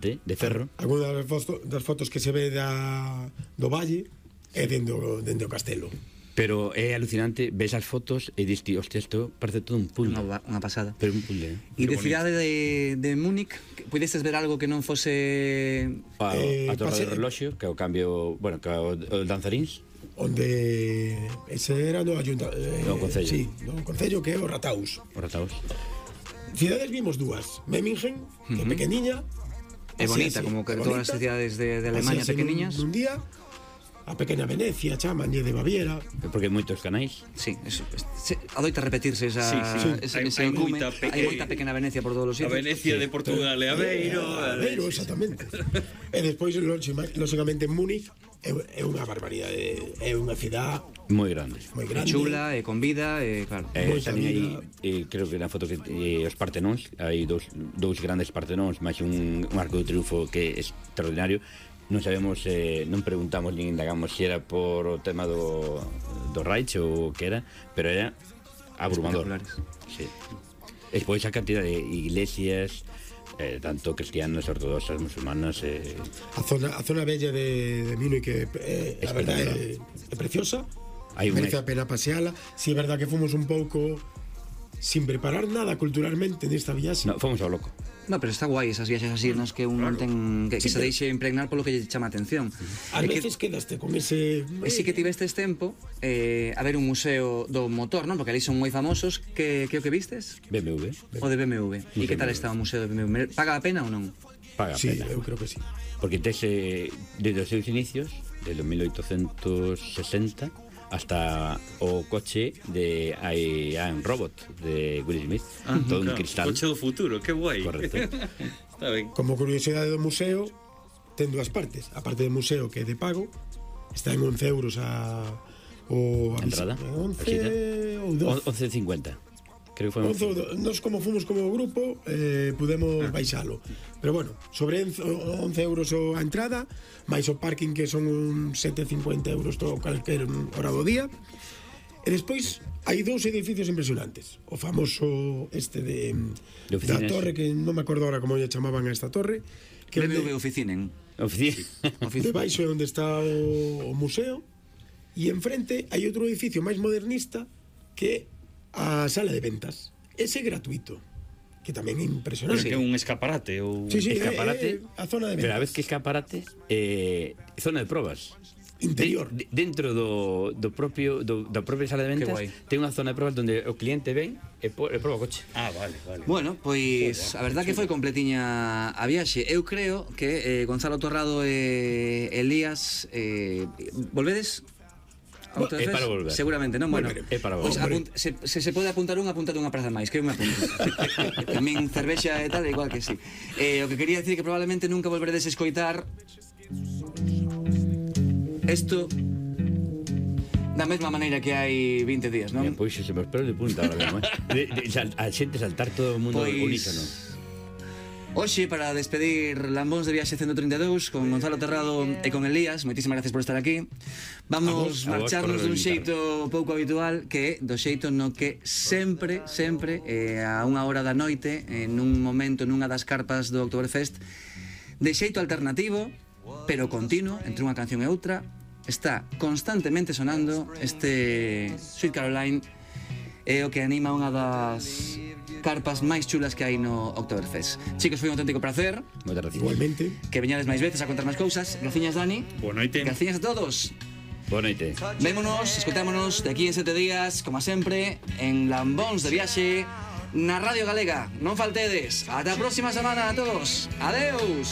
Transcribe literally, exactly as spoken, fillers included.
de ferro. Algunas das fotos, das fotos que se ve da, do valle é dentro, dentro do castelo. Pero é alucinante, ves as fotos e dis, hostia, isto parece todo un puzzle. Unha, unha pasada. Pero un puzzle. E de cidade de, de Múnich, pudestes ver algo que non fose... A, Eh, a torre pase- de reloxo, que é o cambio, bueno, que é o, o danzaríns. Onde ese era no ayunta, eh, No concello. Sí, no concello que é o Rataus. Os rataos. Cidades vimos dúas, Memmingen, que é pequeniña, É así, bonita, así, como que é todas as bonita, cidades de, de así, Alemania así, pequeniñas. Nun, nun día, a pequena Venecia, chamanlle de Baviera. Porque hai moitos canais. Sí, es, es, adoita repetirse esa, Sí, sí. ese, Hai- ese hai encume. moita pe- Hai moita pequena Venecia por todos os A sitios. Venecia de Portugal e Aveiro. Eh, Aveiro, exactamente. E despois, lógicamente, en Múnich é, é unha barbaridade, é unha cidade Moi grande. moi É grande. chula, é con vida, é claro. Eh, Moita tamén hai, vida. eh, creo que na foto que eh, os Partenóns, hai dous, dous grandes Partenóns, máis un, un arco de triunfo que é extraordinario. Non sabemos, eh, non preguntamos nin indagamos se era por o tema do, do Reich ou o que era, pero era abrumador. Espectaculares. Sí. E despois a cantidad de iglesias, eh, tanto cristianas, ortodoxas, musulmanas, eh, A zona, a zona bella de, de Múnich que eh, a verdade é, é preciosa. Hai un Merece ex- a pena paseala. Si é verdad que fomos un pouco sin preparar nada culturalmente nesta viaxe. no, fomos ao loco. No, pero está guai esas viaxes así nas que un non ten que, que Sí, se pero- deixe impregnar polo que lle chama a atención. A É que veces quedaste con ese... E si que tivestes tempo eh, a ver un museo do motor, non? Porque ali son moi famosos. Que, que o que vistes? B M W, O de B M W. E que tal está o museo de B M W? Paga a pena ou non? paga Sí, pena. eu creo que sí. Porque tes, eh, desde os seus inicios, desde o mil oitocentos sesenta, hasta o coche de I Am Robot de Will Smith, Ah, todo un claro, cristal. Coche do futuro, que guai. Correcto. Está ben. Como curiosidade do museo, ten dúas partes. A parte do museo que é de pago, está en once euros a... O, a Entrada, once visita. ou doce. once cincuenta. Creo que foi once ou doce. Nos como fomos como grupo, eh, pudemos baixalo. Pero bueno, sobre once euros a entrada, máis o parking que son uns sete e cincuenta euros todo calquer hora do día. E despois hai dous edificios impresionantes. O famoso este de, De da oficinas. torre, que non me acordo ahora como lle chamaban a esta torre, que B M W onde, Oficinen. Oficina. debaixo é onde está o, o museo, e enfrente hai outro edificio máis modernista que é a sala de ventas. Ese é gratuito, que tamén é impresionante. Que é un escaparate ou Sí, sí, Escaparate. é, é a zona de Pero a ventas. vez que escaparate, eh, zona de probas. Interior. De, de, dentro do, do propio do, da propia sala de ventas guai. ten unha zona de probas onde o cliente ven e, po, e proba o coche. Ah, vale, vale. Bueno, pois a verdad que foi completiña a viaxe. Eu creo que eh, Gonzalo Torrado e Elías eh, volvedes a outra É vez? para volver. Seguramente, non? Bueno, Volveremos. É para pois volver. apunt, se, se se pode apuntar unha, apunta unha praza máis, que eu me apunto. Tamén cervexa e tal, igual que sí. Eh, o que quería decir que probablemente nunca volveredes a escoitar isto da mesma maneira que hai vinte días, non? Mira, pois se me espero de punta ahora mesmo, eh. de, de, sal, a xente saltar todo o mundo Pois- unísono. Hoxe, para despedir Lambóns de Viaxe ciento treinta e dous con Gonzalo Terrado e con Elías, moitísimas gracias por estar aquí. Vamos A vos- a vos marcharnos por dun invitarme. xeito pouco habitual, que é do xeito no que sempre, sempre, eh, a unha hora da noite, en un momento nunha das carpas do Oktoberfest, de xeito alternativo, pero continuo, entre unha canción e outra, está constantemente sonando este Sweet Caroline, é o que anima unha das carpas máis chulas que hai no Oktoberfest. Chicos, foi un auténtico placer. Moitas gracias. Igualmente. Que veñades máis veces a contar máis cousas. Graciñas, Dani. Boa noite. Graciñas a todos. Boa noite. Vémonos, escoitámonos de aquí en sete días, como sempre, en Lambóns de Viaxe, na Radio Galega. Non faltedes. Ata a próxima semana a todos. Adeus.